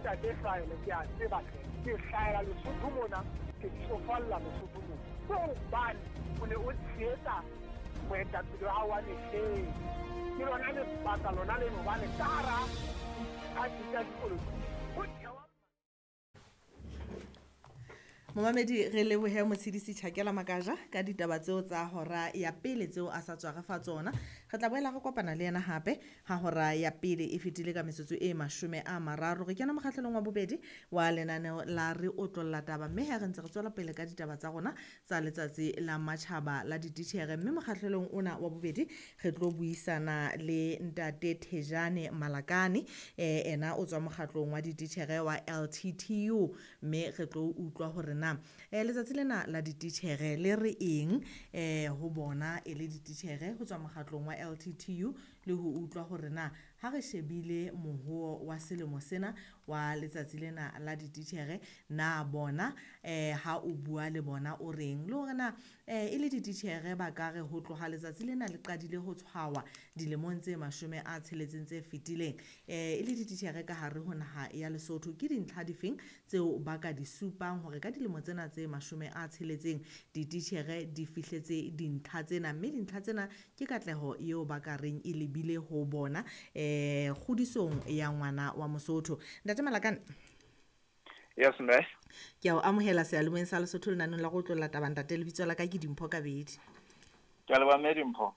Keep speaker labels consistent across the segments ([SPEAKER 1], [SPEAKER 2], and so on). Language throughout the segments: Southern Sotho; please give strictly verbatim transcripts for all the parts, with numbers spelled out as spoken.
[SPEAKER 1] Ntate Hlwaelo, ke a tseba hle. Ke hlahela Lesotho mona, ke tsofalla Lesotho mona. Ke hobane o ne o tshehetsa moetapele wa hao wa mehleng. Ke lona lebaka lona leno hobane ka hara diphathi tsa dipolotiki ho thewa.
[SPEAKER 2] Momamedi, re lebohe Motshidisi Tjhakela Makaja ka ditaba tseo tsa hora ya pele tseo a sa tswa re fa tsona. Re tla boela re kopana le yena hape ha hora ya pele e fetile ka metsotso e mashome a mararo. Re kena mokgahlelong wa bobedi wa lenaneo la Re Otlolla Taba, mme ha re ntse re tswela pele ka ditaba tsa rona tsa letsatsi la matjhaba la dititjhere. Mme mokgahlelong ona wa bobedi re tlo buisana le Ntate Thejane Malakane, eh, ena o tswa mokgatlong wa dititjhere wa L T T U, mme re tlo utlwa hore na eh, letsatsi lena la dititjhere le re eng eh, ho bona e le dititjhere ho tswa mokgatlong wa L T T U, le ho utlwa hore na ha re shebile mohoo wa selemo sena wa letsatsi lena la dititjhere, na bona eh, ha o bua le bona o reng, le hore na eh, e le dititjhere ba ka re ho tloha letsatsi lena le qadile ho tshwawa dilemong tse mashome a tsheletseng tse fetileng, eh, e le dititjhere ka hare ho naha ya Lesotho, ke dintlha difeng tseo ba ka di supang hore ka dilemo tsena tse mashome a tsheletseng dititjhere di fihletse dintlha tsena, mme dintlha tsena ke katleho eo ba ka reng e lebile ho bona eh kgodisong ya ngwana wa Mosotho. Ntate Malakane.
[SPEAKER 3] Yes, mme.
[SPEAKER 2] Ke a o amohela seyalemoyeng sa Lesotho lenaneng la go otlolla taba. Ntate, lebitso la ka ke Dimpho Kabedi.
[SPEAKER 3] Ke a leboha mme Dimpho.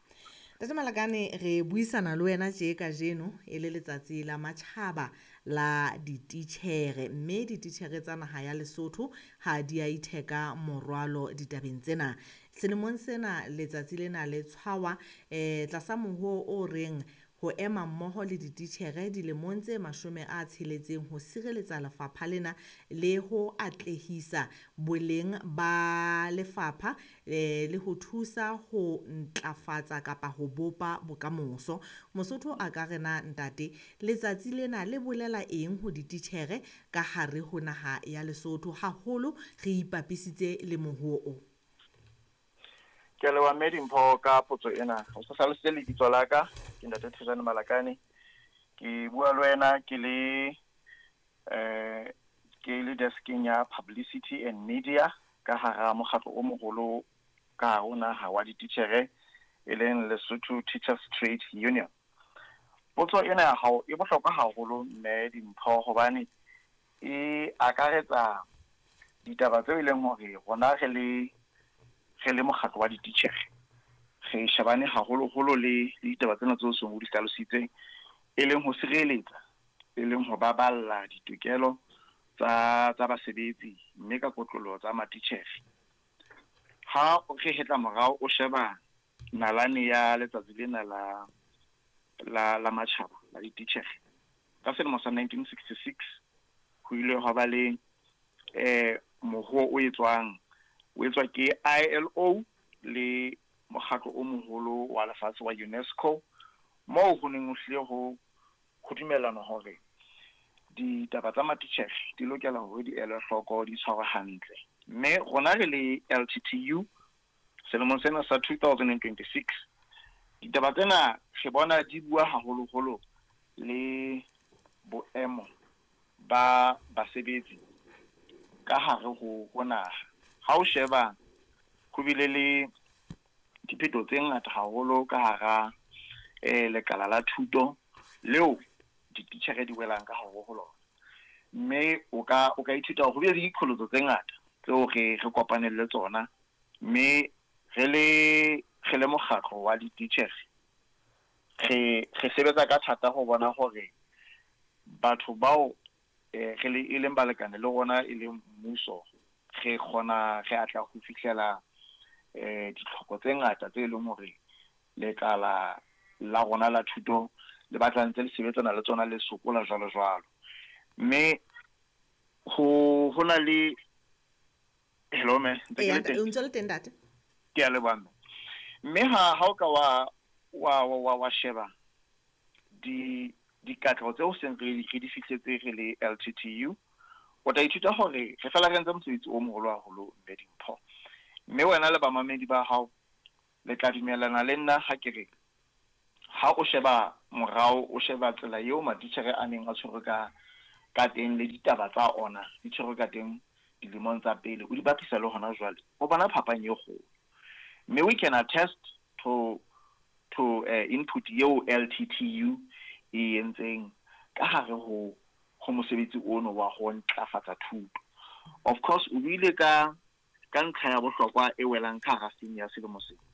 [SPEAKER 2] Ntate Malakane, re buisana le wena tje kajeno e le letsatsi la matjhaba la dititjhere, mme dititjhere tsa naha ya Lesotho ha di a itheka morwalo ditabeng tsena. Selemong sena letsatsi lena le tshwawa eh tlasa mohoo o reng ho ema mmoho le dititjhere dilemong tse mashome a tsheletseng ho sireletsa lefapha lena le ho atlehisa boleng ba lefapha eh, le ho thusa ho ntlafatsa kapa ho bopa bokamoso. Mosotho a ka re na ntate, letsatsi lena le bolela eng ho dititjhere ka hare ho naha ya Lesotho, haholo re ipapisitse le mohoo o?
[SPEAKER 3] Ke a leboha mme Dimpho ka potso ena. O sa hlalositse lebitso la ka, ke Ntate Thejane Malakane. Ke bua le wena ke le eh ke le deskeng ya Publicity and Media ka hara mokgatlo o moholo ka hare ho naha wa dititjhere e leng Lesotho Teachers Trade Union. Potso ena ya hao e bohlokwa haholo mme Dimpho, hobane e akaretsa ditaba tseo e leng hore rona re le re le mokgatlo wa dititjhere re shebane haholoholo le le ditaba tsena tseo seng o di hlalositseng, e leng ho sireletsa, e leng ho baballa ditokelo tsa tsa basebetsi mme ka kotloloho tsa matitjhere. Ha re hetla morao o sheba nalane ya letsatsi lena la la la matjhaba la dititjhere ka selemo sa nineteen sixty-six ho ile hwa ba le eh mohoo o etswang o etswa ke I L O le mokgatlo o moholo wa lefatshe wa UNESCO, moo ho neng ho hlile ho ho dumellanwa hore ditaba tsa matitjhere di lokela hore di elwe hloko, di tshwarwe hantle. Mme rona re le L T T U selemong sena sa two thousand and twenty-six ditaba tsena re bona di bua haholoholo le boemo ba basebetsi ka hare ho ho naha. Ha o sheba ho bile le diphetho tse ngata haholo ka hara eh lekala la thuto leo dititjhere di welang ka hare ho lona, mme o ka o ka ithuta hore ho bile le diqholotso tse ngata tseo re re kopaneng le tsona, mme re le re le mokgatlo wa dititjhere re re sebetsa ka thata ho bona hore batho bao eh re le e leng balekane le rona e leng mmuso re kgona re atla ho fihlela eh ditlhoko tse ngata tse leng hore lekala la rona la thuto le batla ntse le sebetsana le tsona le sokola jwalo jwalo. Mme ho ho na le hello mme, ntse ke le teng?
[SPEAKER 2] O ntse le teng ntate?
[SPEAKER 3] Ke a leboha mme. Mme ha ha o ka wa wa wa wa sheba di dikatleho tseo seng re re di fihletse re le L T T U, o tla ithuta hore re fela re entse mosebetsi o moholo haholo mme Dimpho. Mme wena le bamamedi ba hao le tla dumellana le nna ha ke re ha o sheba morao, o sheba tsela eo matitjhere a neng a tshwerwe ka ka teng le ditaba tsa ona di tshwerwe ka teng dilemong tsa pele, o di bapisa le hona jwale, o bona phapang e kgolo. Mme we can attest to to uh, input eo L T T U e entseng ka hare ho ho mosebetsi ono wa ho ntlafatsa thuto. Of course, o buile ka ka ntlha ya bohlokwa e welang ka hara theme ya selemo sena.